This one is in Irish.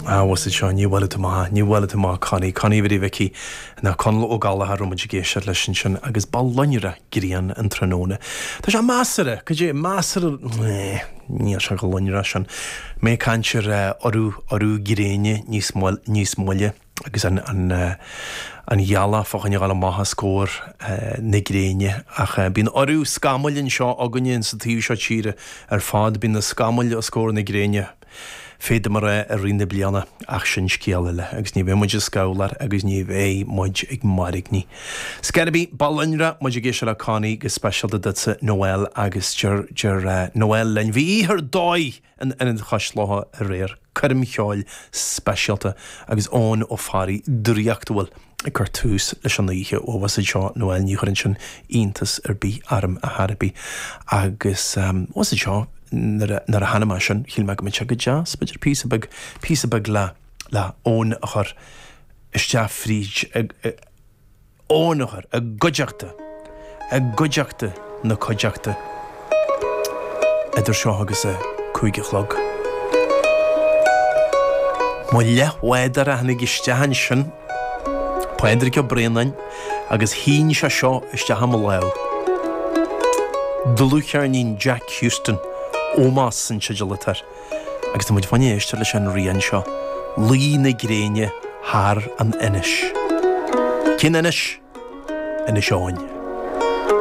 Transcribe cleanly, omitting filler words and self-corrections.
Ah, bhfuil 'fhios a'd seo, ní bhuailfidh tú amach, ní bhuailfidh tú amach Connie, Connie Bhiddy Mhicí, ná Conall Ó Gallchóir a raibh muid ag éisteacht leis ansin agus ba lonrach grian an tráthnóna. Tá sé measartha, cad é, measartha, eh, níl sé chomh lonrach sin. Mé ag caint ar eh, urú, urú gréine níos moille, níos moille agus an, an, eh, an ghealach fá choinne dhul amach os comhair eh, na gréine ach eh, bíonn urú scamaill anseo againne insa taobh seo tíre ar fad, bíonn na scamaill os comhair na gréine. Féadaim a rá i rith na bliana, ach sin scéal eile, agus ní bheidh muid ag scabhláil agus ní bheidh muid ag mairgní. Scor ar bith, ba lonrach muid ag éisteacht le Connie go speisialta duitse Noel agus deir, deir Noel linn, bhí oíche ar dóigh in Ionad Chois Locha aréir, coirm cheoil speisialta agus Eoin Ó Fearraigh draíochtúil. ag cur tús leis an oíche. Ó, bhfuil 'fhios a'd seo, Noel, ní chuireann sin iontas ar bith orm a chor ar bith. Agus, bhfuil 'fhios a'd seo, nuair a, nuair a chonaic mé sin, shíl mé go mbeadh sé go deas, b'fhéidir píosa beag, píosa beag le, le Eoin a chur isteach fríd, Eoin a chur i gcuideachta, i gcuideachta na cuideachta idir seo agus a 5 a chlog. Mo leathbhádóir a tháinig isteach ansin, Pádraig Ó Braonáin, agus shín sé seo isteach i mo lámh. Dlúthcheirnín Jack Houston, Ómós an teideal atá air, agus tá muid fá choinne éisteacht leis an rian seo, Luí na Gréine thar an Inis. Cén Inis? Inis Eoghain.